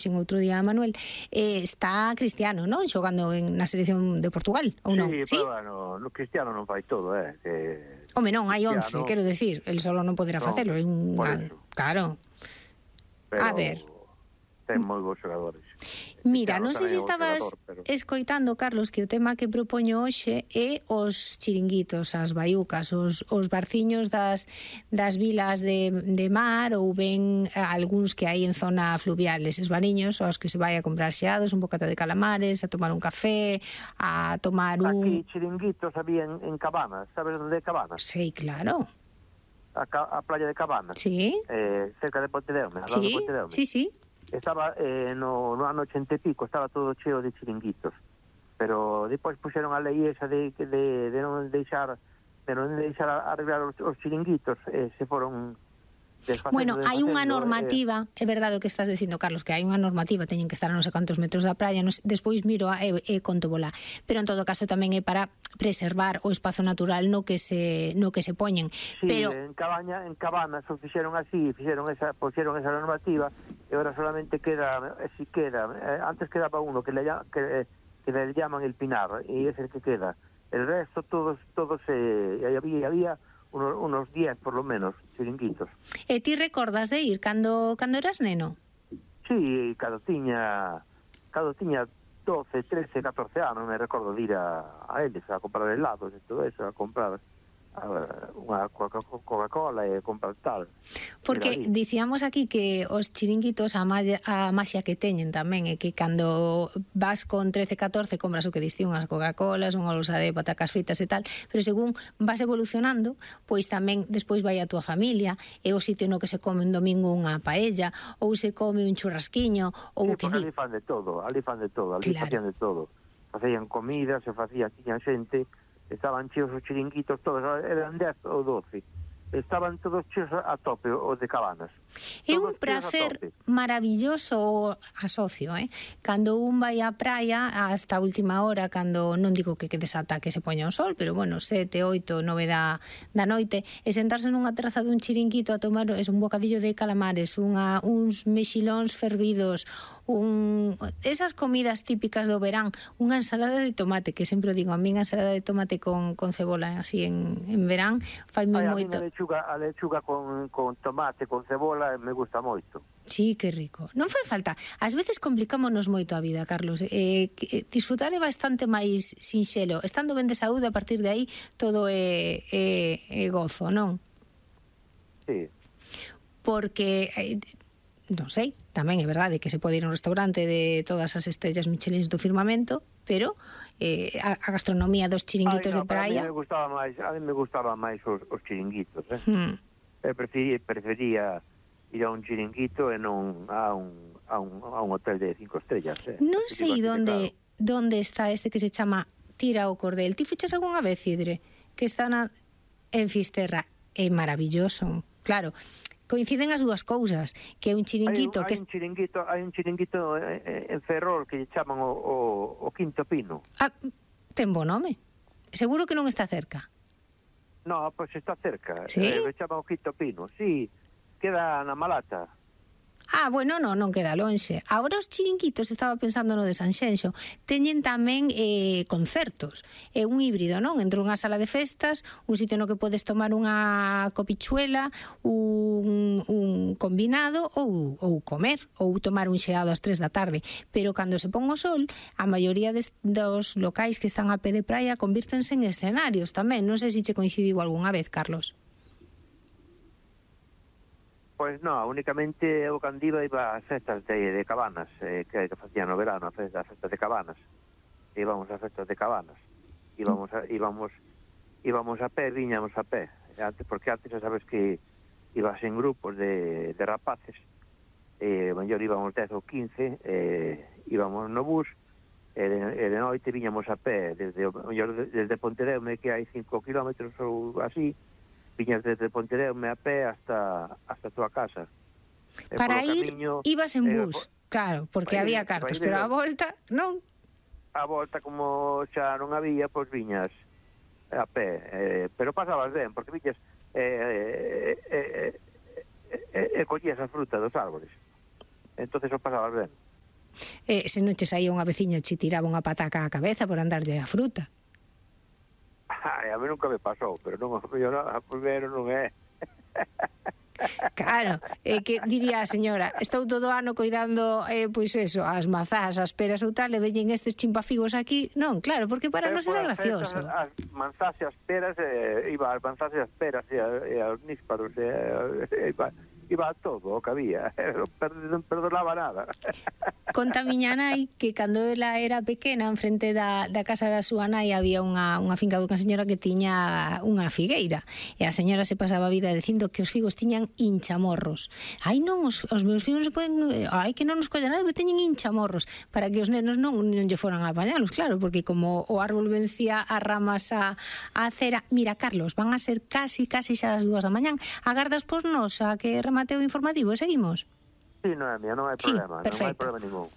xin outro día a Manuel, está Cristiano, non? Xogando na selección de Portugal, ou non? Sí, pero bueno, Cristiano non fai todo, Home, non, hai 11, quero decir, el solo non poderá facelo. Claro. Pero a ver, ten moi bons xogadores. Mira, non sei se estabas escoitando, Carlos, que o tema que propoño hoxe é os chiringuitos, as baiucas, os barciños das vilas de mar, ou ben algúns que hai en zona fluvial, eses bariños aos que se vai a comprar xeados, un bocata de calamares, a tomar un café, a tomar un... Aquí chiringuitos había en Cabanas, sabes onde é Cabanas? Sí, claro. A playa de Cabanas. Sí. Cerca de Pontedeume, al lado de Pontedeume. Sí, sí. Estaba no ano 80 e pico, estaba todo cheo de chiringuitos, pero depois puxeron a lei esa de non deixar arreglar os chiringuitos, se foron Bueno, hai unha normativa, é verdade o que estás dicindo, Carlos, que hai unha normativa, teñen que estar a non sei cantos metros da praia, despois miro e conto bola, pero en todo caso tamén é para preservar o espazo natural no que se poñen. Sí, pero en Cabanas o fixeron así, puxeron esa normativa, e agora solamente queda, antes quedaba uno que le llaman el Pinar, e ese el que queda. El resto todos había unos 10 por lo menos chiringuitos. E ti recordas de ir cando eras neno? Sí, cando tiña 12, 13, 14 anos me recordo de ir a eles a comprar helados e todo eso, a comprar unha Coca-Cola e comprar tal. Porque dicíamos aquí que os chiringuitos a maxia que teñen tamén é que cando vas con 13, 14 compras o que diste unhas Coca-Colas, unha bolsa de patacas fritas e tal, pero según vas evolucionando, pois tamén despois vai a túa familia, é o sitio no que se come un domingo unha paella, ou se come un churrasquiño, ou o que di. Ali fan de todo, facían de todo. Facían comida, tiñan xente, estaban cheos os chiringuitos todos, eran 10 ou 12, estaban todos cheos a tope os de Cabanas. É un prazer maravilloso, asocio, cando un vai á praia hasta a última hora, cando non digo que desata que se poña o sol, pero bueno, 7, 8, 9 da noite, e sentarse nunha terraza dun chiringuito a tomar un bocadillo de calamares, uns mexilóns fervidos, esas comidas típicas do verán, unha ensalada de tomate, que sempre digo, a mí a ensalada de tomate con cebola así en verán faime moito. A lechuga con tomate, con cebola, me gusta moito. Sí, que rico. Non fai falta. Ás veces complicámonos moito a vida, Carlos. Disfrutar é bastante máis sinxelo. Estando ben de saúde, a partir de aí todo é gozo, non? Sí. Porque non sei, tamén é verdade que se pode ir a un restaurante de todas as estrellas Michelin do firmamento, pero a gastronomía dos chiringuitos de praia... A mí me gustaba máis os chiringuitos, prefería ir a un chiringuito e non a un hotel de 5 estrellas. Non sei onde está este que se chama Tira o Cordel. Ti fichas algunha vez, Idre? Que está en Fisterra. É maravilloso, claro. Coinciden as dúas cousas, que é un chiringuito hai un chiringuito en Ferrol que lle chaman o Quinto Pino. Ten bo nome. Seguro que non está cerca. No, pois está cerca. Sí? Me chaman o Quinto Pino. Sí, queda na Malata. Bueno, non queda lonxe. Agora os chiringuitos, estaba pensando no de Sanxenxo, teñen tamén concertos. É un híbrido, non? Entre unha sala de festas, un sitio no que podes tomar unha copichuela, un combinado ou comer, ou tomar un xeado ás 3 da tarde. Pero cando se pon o sol, a maioría dos locais que están a pé de praia convírtense en escenarios tamén. Non sei se che coincidiu algunha vez, Carlos. Pois non, únicamente o cando iba ás festas de Cabanas, que facían no verano, as festas de Cabanas. Íbamos ás festas de Cabanas. Íbamos a pé, viñamos a pé. Porque antes xa sabes que ibas en grupos de rapaces, mellor íbamos 10 ou 15, íbamos no bus, e de noite viñamos a pé, desde Pontedeume, que hai 5 kilómetros ou así, viñas desde Pontedeume a pé hasta a túa casa. Para ir, ibas en bus, claro, porque había cartos, pero a volta, non? A volta, como xa non había, pois viñas a pé, pero pasabas ben, porque viñas collías a fruta dos árboles, entonces o pasabas ben. Se non che saía unha veciña che tiraba unha pataca á cabeza por andarlle a fruta. A mí nunca me pasou, pero non, yo non, primeiro non é. Claro, que diría a señora, estou todo ano coidando, pois eso, as mazás, as peras ou tal, e veñen estes chimpafigos aquí. Non, claro, porque para nós era gracioso. As manzás e as peras, iba as manzás e as peras e os nísparos, iba a todo o que había, non perdonaba nada. Conta miña nai que cando ela era pequena, en frente da casa da súa nai había unha finca dunha señora que tiña unha figueira, e a señora se pasaba a vida dicindo que os figos tiñan hinchamorros. Ai non, os meus figos se poden, ai que non nos colla nada, porque teñen hinchamorros, para que os nenos non lle foran a apañalos, claro, porque como o árbol vencía as ramas a cera. Mira, Carlos, van a ser casi xa as 2 da mañán. Agardas pos nos a que remate o informativo e seguimos? Sí, Noemia, non hai problema, non hai problema ningún.